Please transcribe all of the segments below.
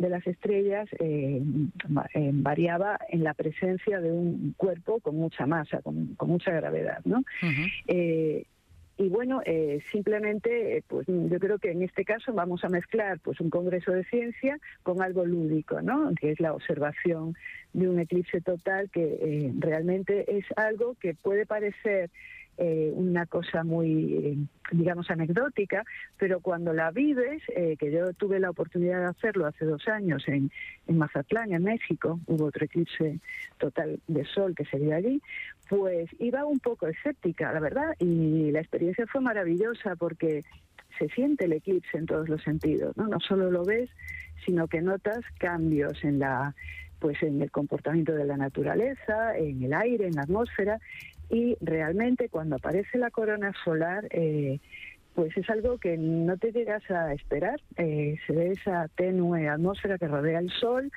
de las estrellas variaba en la presencia de un cuerpo con mucha masa, con mucha gravedad, ¿no? Y bueno, simplemente, pues yo creo que en este caso vamos a mezclar pues un congreso de ciencia con algo lúdico, ¿no? Que es la observación de un eclipse total, que realmente es algo que puede parecer una cosa muy, digamos, anecdótica, pero cuando la vives, que yo tuve la oportunidad de hacerlo hace 2 años en Mazatlán, en México, hubo otro eclipse total de sol que se vio allí, pues iba un poco escéptica, la verdad, y la experiencia fue maravillosa porque se siente el eclipse en todos los sentidos, ¿no? No solo lo ves, sino que notas cambios en el comportamiento de la naturaleza, en el aire, en la atmósfera, y realmente cuando aparece la corona solar, pues es algo que no te llegas a esperar. Se ve esa tenue atmósfera que rodea el Sol,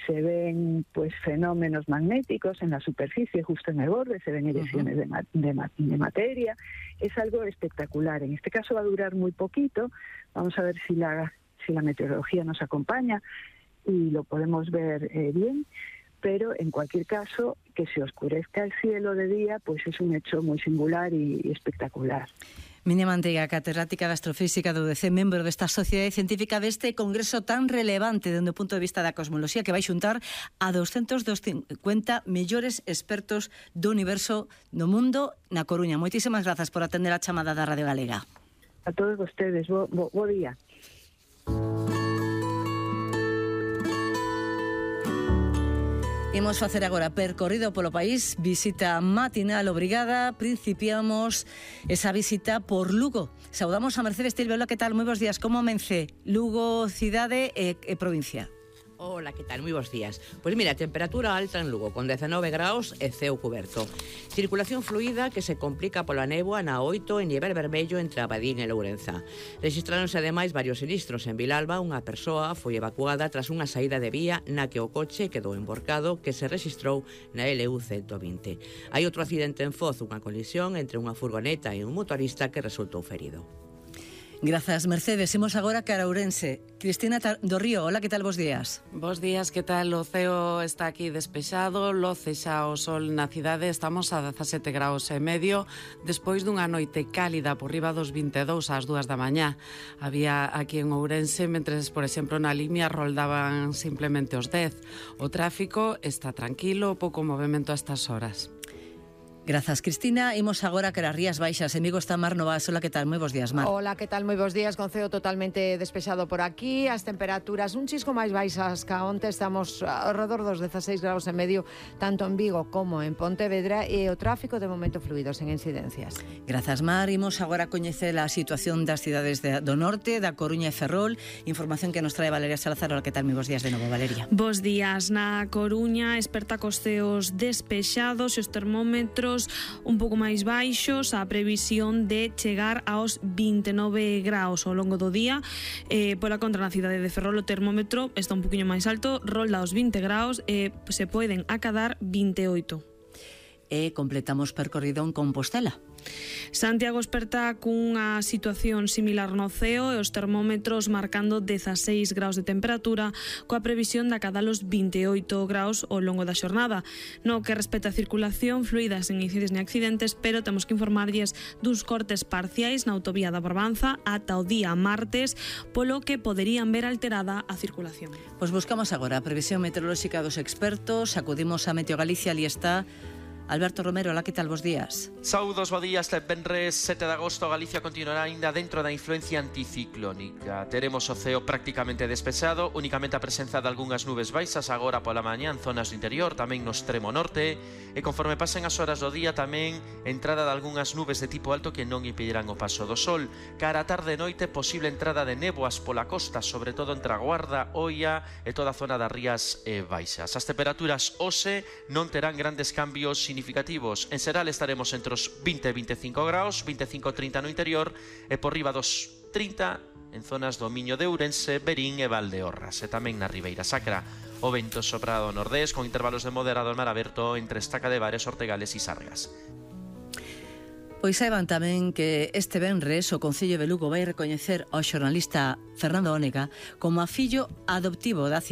se ven pues fenómenos magnéticos en la superficie, justo en el borde, se ven eyecciones de materia. Es algo espectacular. En este caso va a durar muy poquito. Vamos a ver si la meteorología nos acompaña y lo podemos ver bien. Pero en cualquier caso, que se oscurezca el cielo de día, pues es un hecho muy singular y espectacular. Minia Manteiga, catedrática de Astrofísica do UDC, membro desta sociedade científica deste congreso tan relevante dende o punto de vista da cosmoloxía, que vai xuntar a 250 mellores expertos do universo do mundo na Coruña. Moitísimas grazas por atender a chamada da Radio Galega. A todos vostedes, bo día. Imos facer agora percorrido polo país, visita matinal obrigada. Principiamos esa visita por Lugo. Saudamos a Mercedes Tilbelo, que tal? Moi bons días, como amence Lugo, cidade e provincia? Hola, que tal? Moi bons días. Pois mira, temperatura alta en Lugo, con 19 graus e ceo cuberto. Circulación fluida que se complica pola néboa na 8 en nivel vermello entre Abadín e Lourenza. Rexistráronse ademais varios sinistros. En Vilalba, unha persoa foi evacuada tras unha saída de vía na que o coche quedou emborcado, que se rexistrou na LU 120. Hai outro accidente en Foz, unha colisión entre unha furgoneta e un motorista que resultou ferido. Grazas, Mercedes. Imos agora cara a Ourense. Cristina do Río, hola, que tal? Bos días. Bos días, que tal? O ceo está aquí despexado, loce xa o sol na cidade, estamos a 17 graus e medio, despois dunha noite cálida por riba dos 22 ás 2 da mañá. Había aquí en Ourense, mentres, por exemplo, na Limia roldaban simplemente os 10. O tráfico está tranquilo, pouco movimento a estas horas. Grazas, Cristina. Imos agora cara as Rías Baixas. Amigo está Mar Novas. Hola, que tal? Moi bons días, Mar. Hola, que tal? Moi bons días. Con ceo totalmente despexado por aquí. As temperaturas un chisco máis baixas ca onte. Estamos alrededor dos 16 graus e medio, tanto en Vigo como en Pontevedra, e o tráfico de momento fluido, sen incidencias. Grazas, Mar. Imos agora coñecer a situación das cidades do norte, da Coruña e Ferrol. Información que nos trae Valeria Salazar. Hola, que tal? Moi bons días de novo, Valeria. Bos días. Na Coruña esperta cos ceos despexados e os termómetros un pouco máis baixos, a previsión de chegar aos 29 graus ao longo do día. Pola contra, na cidade de Ferrol o termómetro está un poquinho máis alto, rolda aos 20 graus e se poden acadar 28. E completamos percorrido en Compostela. Santiago esperta cunha situación similar no ceo e os termómetros marcando 16 graus de temperatura, coa previsión de acadar os 28 graus ao longo da xornada. No que respecta a circulación fluida, sen incidentes ni accidentes, pero temos que informarlles duns cortes parciais na autovía da Barbanza ata o día martes, polo que poderían ver alterada a circulación. Pois buscamos agora a previsión meteorolóxica dos expertos, acudimos a Meteo Galicia, ali está Alberto Romero. Hola, que tal? Bos días. Saudos, bo día. Este venres 7 de agosto Galicia continuará aínda dentro da influencia anticiclónica. Teremos o ceo prácticamente despexado, únicamente a presenza de algunhas nubes baixas agora pola mañá en zonas do interior, tamén no extremo norte, e conforme pasen as horas do día tamén entrada de algunhas nubes de tipo alto que non impedirán o paso do sol. Cara a tarde e noite, posible entrada de néboas pola costa, sobre todo entre a Guarda, Oia e toda a zona das Rías Baixas. As temperaturas hoxe non terán grandes cambios significativos. En xeral estaremos entre os 20 e 25 graus, 25-30 no interior e por riba dos 30 en zonas do Miño de Ourense, Verín e Valdeorras, e tamén na Ribeira Sacra. O vento sopra do nordés con intervalos de moderado en mar aberto entre Estaca de Bares, Ortegales e Sargas. Pois saiban tamén que este venres o Concello de Lugo vai recoñecer ao xornalista Fernando Ónega como a fillo adoptivo da cidade.